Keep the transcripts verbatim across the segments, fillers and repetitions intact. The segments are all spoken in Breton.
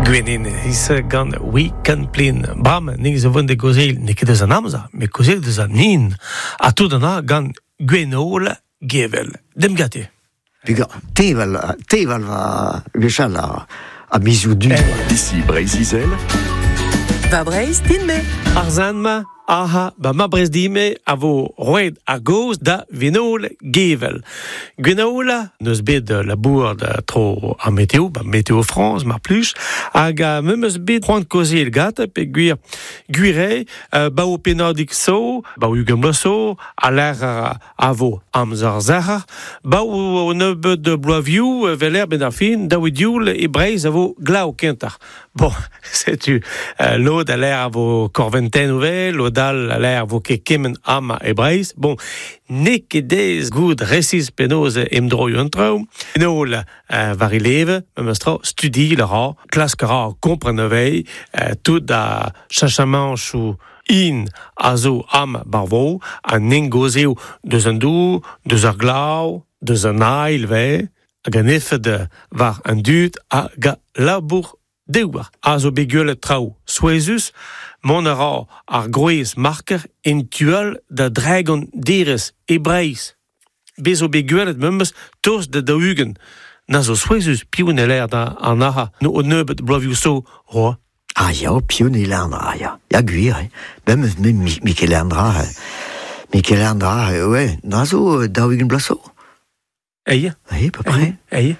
Gwenin is gant We Can Plin. Bram, nik zo vont de gozel, ne ket eus an amzer, me gozel deus an nin. A tout an a gant Gwenol Gevel. Dem gate. Piga, teval, teval va gwechall a, a mizioù du. Ici Breizh-Izel. Va Breizh din-me. Ar zan-ma, aha, ba ma Breizh dime a vo roet ar goz da Gwenole Gevel. Gwenole, neus bet labour da tro ar météo, ba Météo France, mar plij, hag a memes bet c'hoant kozel gat, pe gwir gwire, euh, ba o penadik so, ba o ugent bloaz so, a l'air a vo amzer zahar, ba o nebeud de bloaviou, veler ben ar fin, da o dioul e Breizh a vo glav kentar. Bon, setu, euh, lod a l'air a vo korventen ouvel, lod all a l'air vo ket kement ama e Breizh. Bon, ne ket dez goud resis penaos emdroioù an traoù. Nol euh, war e leve, memes tra, studi le ra, klask ra kompren avei, euh, tout da chachamanchou in a zo am barvo, an engozeo deus an dou, deus ar glav, deus an ail ve, hag an efed war an dud hag a labour dewar. A zo bet gwelet traoù souezhus, mont a ra ar groez marker en tual da dragon derez e Breizh. Bez zo bet gwelet memes tost da daou-ugent. Na zo souezhus piv ne l'air da an aha no o nebeud bloavioù so roa. Ah ya, piv ne l'air dra, ya. Ya gwir, eh. Ben me, me, mi, Mikel Andra, eh. Mikel Andra, eh, ouais, na zo daou-ugent bloaz so. Eie. Eie, à peu près. Eie.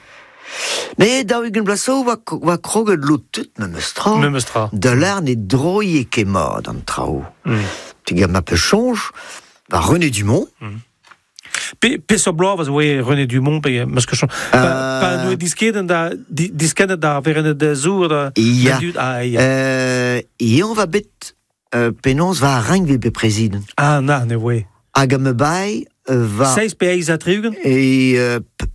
Mais daou-ugent bloaz so oa, oa kroget lot tout memes tra. Memes tra. Da l'air ne droie ket mat an traoù. Mm. Tu gant ma pe chonj, va René Dumont. Mm. Pe, pe so bloaz oa René Dumont, pe, meus ket chonj. Pa, Euh, pa noe diskedet da, di, diskedet da verenet da zour da, Ya. da dud, ah, ya. Euh, Ion va bet, euh, penaos va renk bet prezident. Ah, na, ne oe. Hag am bai euh, va... Seiz pe eiz a tri-ugent? E euh, p-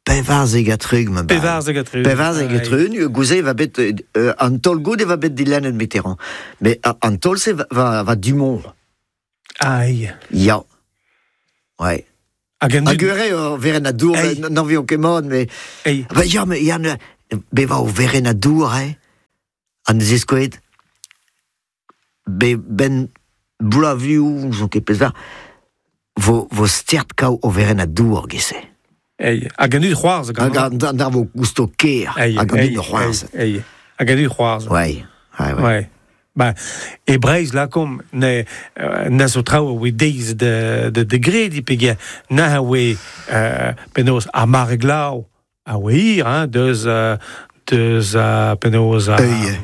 pevarzek a tri-ugent ma bai. Pevarzek a tri-ugent. Pevarzek a tri-ugent, gouze va bet, euh, an tol goude va bet dilennet Mitterrand. Mais euh, an tol se va, va, va Dumont. Aïe. Ya. Ouais. Hag an Hag dud... ure, euh, veren a dour, Ei. n'en vion ket mat, mais... Ei. Ba, ya, mais ya, ne, be va o veren a dour, eh? An zeskoet, be ben bloaviou, zo ket pezh vo, vo stert kao o veren a dour, gese. Ei. Hag an dud c'hoarzh Hag gant. an an ar vo gousto ker, Ei, hag an ei, dud c'hoarzh. Ei, ei. Hag an dud c'hoarzh. Ouais, ouais, ouais. Ouais. Ba, e Breizh lakom ne, euh, na zo traoù a oe deiz de, de, de gredi peger na a oe euh, penaos ar mare glav a oe hir, hein, deus, euh, deus euh, penaos euh, Ei.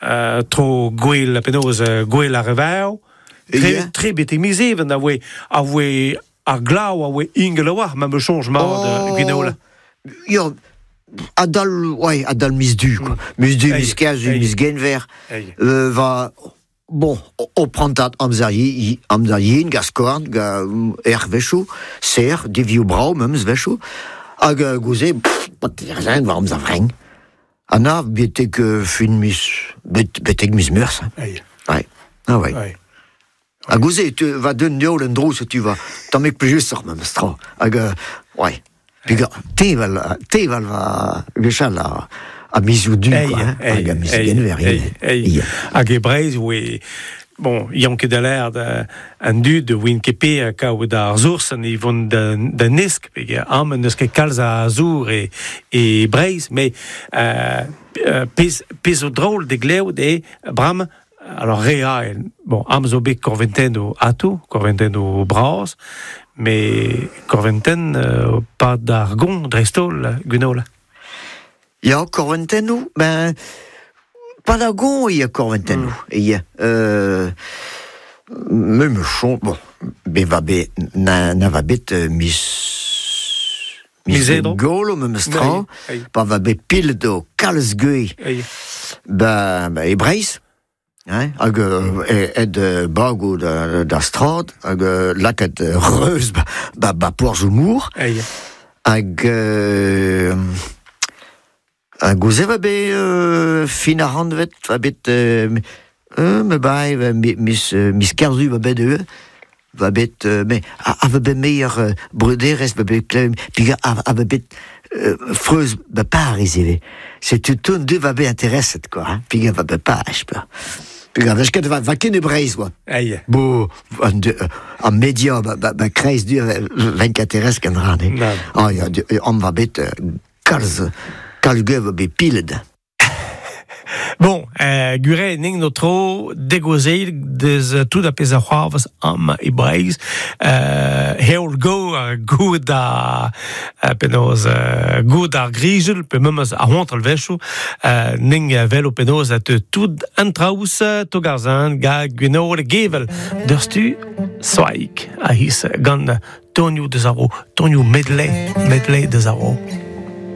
euh, tro gwell, penaos euh, gwell ar revav. Tre, Ei. tre bet e miz even a oe, a oe ar glav a oe ingel a oar, ma me chonj mat oh. Gwenola. Ya, adal, ouais, adal miz du, quoi. Miz du, Ei, miz kerzu, ei. miz genver. Ei. Euh, va, bon, o, o prantat amzer yi, amzer yin, ga skorn, ga er vechou, ser, devioù brao, memes vechou, hag euh, gouze, pff, pat erzen, war amzer vreng. Ha na, betek euh, fin miz, bet, betek miz meurs. Hein. Ei. Ouais. Ah ouais. Ouais. Ha gouze, tu va d'un dioul en dro, se tu va, tamm ek plijusoc'h memes tra. Hag, euh, ouais. Piga, teval, teval va gwechall a, a mizioù du, Ei, quoi, hein. ei, Hag a miz ei, genver, ei, ivez. ei. Ya. Hag e Breizh oe, bon, yann ket a l'air da, an dud oin ket pe kaout ar zours an e vont da, da nesk, peger am neus ket kalz a zour e, e Breizh, mais euh, euh, pez, pez zo drôle de glev de bram, alors re a, bon, am zo bet korventen o ato, korventen o braz, mais korventen euh, pa d'ar gon dreistol, Gwenola. Ya, korventennoù, ben, pa da gon ya korventennoù, mm. Ya, euh, me me chon, bon, be va bet, na, na va bet euh, mis... Mis edro. Golo memes tra, Ei, ei. pa va bet pil do kalz guei, Ei. ba, ba e Breizh, hein, hag euh, e- ed euh, bago da, da strad, hag euh, lakaet euh, reuz ba, ba, ba porzh mour, Ei. hag euh, hag gouze va bet euh, fin ar randvet, va bet euh, euh, me bai, va mi- mis, euh, mis kerzu va bet eo, va bet, euh, me, a, a va bet meier euh, breuderez, va bet klev, pig a, a va bet euh, freuz ba Paris ivez. Setu tout du va bet intereset, quoi, hein. Piga va be Paris, quoi. Piga, vech ket va, va ket e Breizh, quoi. Aïe. Bo, an, de, an media, ba, ba, ba kreiz du, ven ket interes ken ran, eh. Nan. Ah, ya, du, an va bet, euh, kalz, kalz gev va bet pilet. Bon, euh, gure ning no tro degozeil deus tout a pezh a c'hoarvez am e Breizh. Euh, heol go ar goud a euh, penaos euh, goud ar grijel pe memes a c'hoant al vechoù euh, ning velo penaos a te tout an traous togarzan ga Gwenole Gevel deurstu soaik a his gant tonioù deus ar ro, tonioù medley, medley deus ar ro.